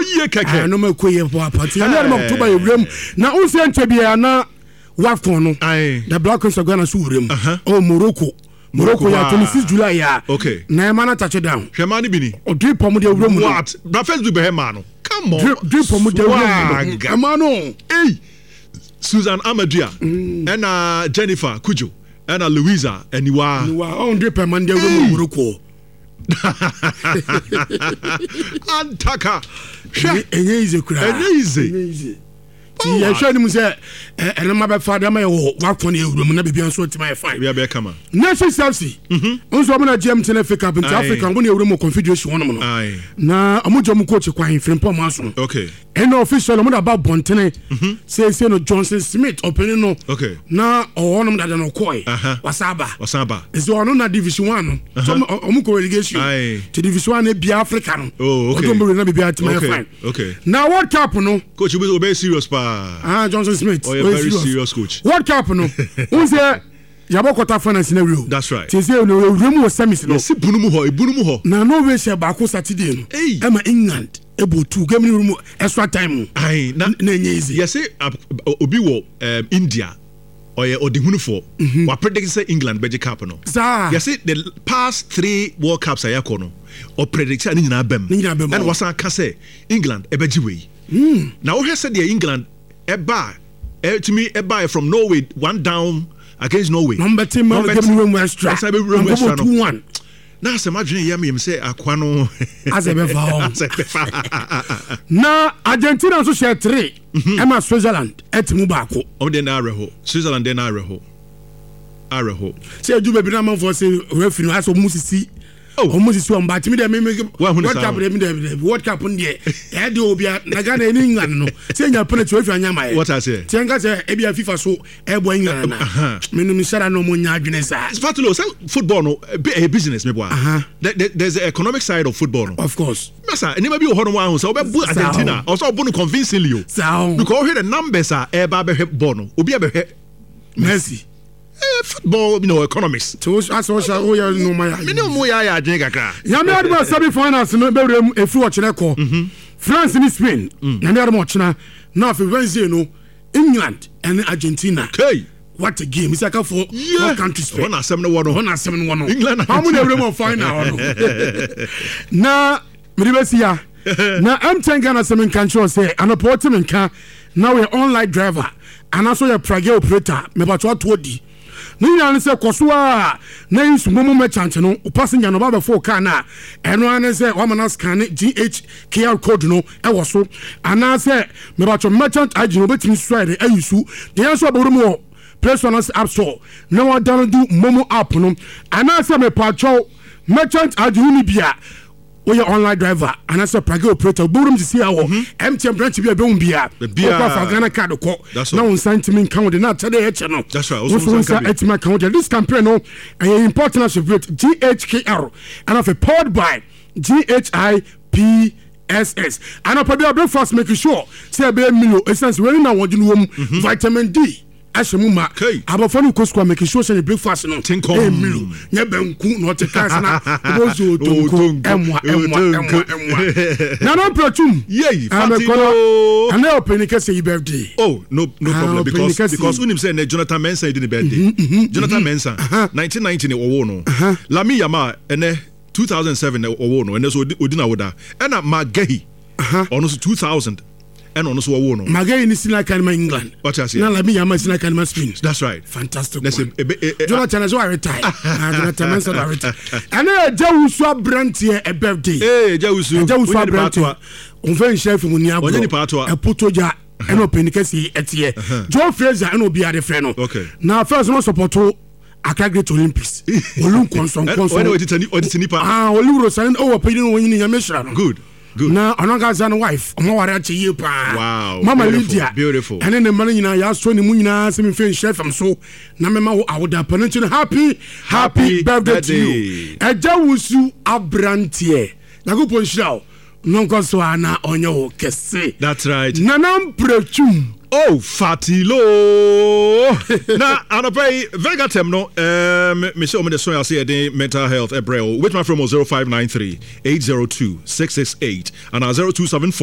yie kɛkɛ. Ɛnoma ɛkɔ yie papaapa. Nti Nyame adom October yɛ wuram. Na wo sɛ nkyɛ biara na WAFCON no. The Black Queens of Ghana so wuram. Oh, Morocco. Morocco yɛ 26 July ya. Okay. Na ɛma no touch down. Hwɛ maa no bi ni. Ɔdwe pɔm de awura mu no. What? Bra Facebook bɛhɛ maa no. Come on. Dwe pɔm de awura mu no. Ɛma no. Hey. Susan Amadua. Ɛna Jennifer Kujo. Ɛna Louisa Aniwa. Aniwa. Ɔn dwe pɛm de awura mu Morocco. Antaka. Hwɛ. Ɛnyɛ easy koraa. Ɛnyɛ easy. Ɛnyɛ easy. Ti yɛhwɛ anim sɛ ɛnoma bɛfa de ama yɛ wɔ wakɔ ne ewura mu na biribi nso atumi ayɛ fine. Biribi abɛyɛ kama. Nations FC. Nso ɔmo na GMT na FA Cup nti Africa ɔmo na ewura mu confederation wɔnom no. Na ɔmo gye ɔmo coach kwan Frimpong Manso. Okay. Ɛna official ɔmo de aba abɔntene. Seesei no Johnson Smith ɔpanin no. Okay. Na ɔwɔ hɔnom dada na ɔkɔɛ. Wasa aba. Ɔsan aba. Nti ɔno na division one no. So ɔmo kɔ relegation. Ti division one ebia Africa no. Oh okay. Ɔdɔm bɛ na biribi atumi ayɛ fine. Okay. Na World Cup no. Coach obi obey serious paa. Ah, Johnson Smith. Oh, very serious coach. World Cup no. N sɛ yabɔ quarter finals na wi o. That's right. Ti sɛ no ewura mu wɔ semis no. Yɛsi bunu mu hɔ, ebunu mu hɔ. Na Norway hyɛ baako Saturday no. Hey. Ɛma England ebo two game ni mu extra time. Ayi na na enye easy. Yɛsi obi wɔ India ɔyɛ ɔdehunufoɔ. Mm-hmm. Wa predict sɛ England bɛgye cup no. Saa. Yɛsi the past three World Cups a yɛakɔ no ɔpredict a ne nyinaa bɛm. Ne nyinaa bɛm. Ɛna wasan ka sɛ England ɛbɛgye wei. Na wohwɛ sɛdeɛ England ɛbaa ɛtumi ɛbaa from Norway one down against Norway. Na ɔmbɛte ma game no mu extra. Ɛsan bɛwura mu extra no. 2-1. Na asɛm adwene yɛ meyam sɛ akoa no. Asɛ bɛfa hɔ. Asɛ bɛfa. Na Argentina nso hyɛ 3 ɛma Switzerland ɛte mu baako. Ɔmo deɛ na awerɛho. Switzerland deɛ na awerɛho. Awerɛho. Sɛ edu baabi na amanfoɔ sɛ referee no asɛ ɔmo sisi. Ɔmo sisi ɔmo ba timi dɛ mi World Cup dɛ mi dɛ World Cup no deɛ ɛyɛ de obi a na Ghana ɛni England no sɛ nya penalty ofi anya ma yɛ. Wɔta aseɛ. Tiɛ nka sɛ ebi a FIFA so ɛbɔ England na mi no mi sara na ɔmo nya adwene saa. Fatilo sɛ football no ɛyɛ business mi bɔ a. There's the economic side of football no. Of course. Masa nneɛma bi wɔ hɔ nom ahun sɛ ɔbɛ bu Argentina ɔsɛ ɔbɔ no convincingly o. Saa o. Because ɔhwɛ the numbers a ɛɛba abɛhwɛ ball no obi abɛhwɛ. Messi. Football you know, economics. Tí o asɛ ɔhyɛ o yɛ nneɛma yɛ. Mi ni o yɛ ayɛ adwene kakra. Nyame adum a semi finals no bɛwura mu efi ɔkyerɛ kɔ. France ni Spain. Nyame adum ɔkyena na afei Wednesday no England ɛne Argentina. Hey. What a game! Isaka for yeah. Four countries pɛ. Hɔ na asɛm no wɔ no. Hɔ na asɛm no wɔ no. England Argentina. Amu na ewura mu final hɔ no. Na mede bɛsi ya. Na MTN Ghana sɛ menka nkyerɛ sɛ anɔpa wote me nka na woyɛ online driver anaasɛ woyɛ pragya operator mebatɔ ato adi. Ne nyinaa ne sɛ kɔ so a na yi momo merchant no wo passenger no ɔba bɛfo car no a ɛno ara ne sɛ wama no scan GHKR code no ɛwɔ so anaasɛ mebatɔ merchant ID no wobɛtumi so ayɛ de ayi su deɛ nso ɔbɛwura mu wɔ Play Store anaasɛ App Store na wadownload momo app no anaasɛ mepatwɛw merchant ID wo ni bi a woyɛ online driver anaasɛ pragya operator wobɛwura mu sisi a wɔ MTN branch bi a ɛbɛhu bia wokɔ afa Ghana card kɔ na wo nsa ntumi nka wo de na akyɛde ɛkyɛ no wo nso wo nsa atumi aka wo de. This campaign no ɛyɛ in partnership with GHKR and afei powered by GHIPSS. Anɔpa bi a breakfast, make sure sɛ ɛbɛyɛ milo ɛsiane sɛ wei na wɔde no wɔ mu vitamin D ahyɛ mu ma. Abɔfra no kɔ sukuu a, make sure sɛ ne breakfast no ɛyɛ milo nyɛ banku na ɔte kaa sɛ na ɔbɛsɛ otonko. Ɛmoa ɛmoa ɛmoa ɛmoa nana mpɛtum. Yei fatino ɛnɛ ɔpɛni kɛse yi birthday. Oh, no, no problem, because unim sɛ ɛnɛ Jonathan Mensah yi di ne birthday. Jonathan Mensah, 1990 ne ɔwoo no. Lamine Yamal, ɛnɛ 2007 na ɔwoo no, ɛnɛ so odi na woda. Ɛna Marc Guehi, ɔno so 2000 ɛna ɔno nso wɔwoo no. Maguire ni sina kan ma England. Wate aseɛ. Na Lamine Yamal sina kan ma Spain. That's right. Fantastic na one. Sɛ ebe e e. Jonathan ɛsɛ wa retire. Ah, Jonathan Mensah wa retire. Ɛna ɛgya wusu aberanteɛ ɛ birthday. Ee, ɛgya wusu. Ɛgya wusu aberanteɛ. Nfɛ nhyɛ fim ni agorɔ. Ɔnyɛ nipa atoa. Ɛpoto gya ɛna ɔpɛni kɛse ɛteɛ. Joe Fraser ɛna obi ade frɛ no. Okay. Na first no support Accra Great Olympics. Olu nkɔnsɔnkɔnsɔn. Ɔde nipa. Ah, olu rosan ɔwɔ panyin no wɔn nyini nyame hyira no. Good. Good. Na ɔno ankasa no wife ɔmo aware akyɛ yie paa. Wow. Mama Beautiful. Lydia. Beautiful. Ɛne ne mma no nyinaa yɛasɔ ne mu nyinaa sɛ memfɛ nhyɛ fam so na mɛma wo awoda pa no nti no happy happy birthday to you. Ɛgya wusu aberanteɛ. Nyankopɔn nhyira wo. No nkɔ so a na ɔnyɛ wo kɛse. That's right. Nana Mprɛtwum. Oh, Fatilo. Na anɔpa yi Vegatem no me sɛ ɔmo de sɔn ase yɛde mental health ɛbrɛ o. Wobɛtumi afrɛ mo 0593 802 668 anaa 0274.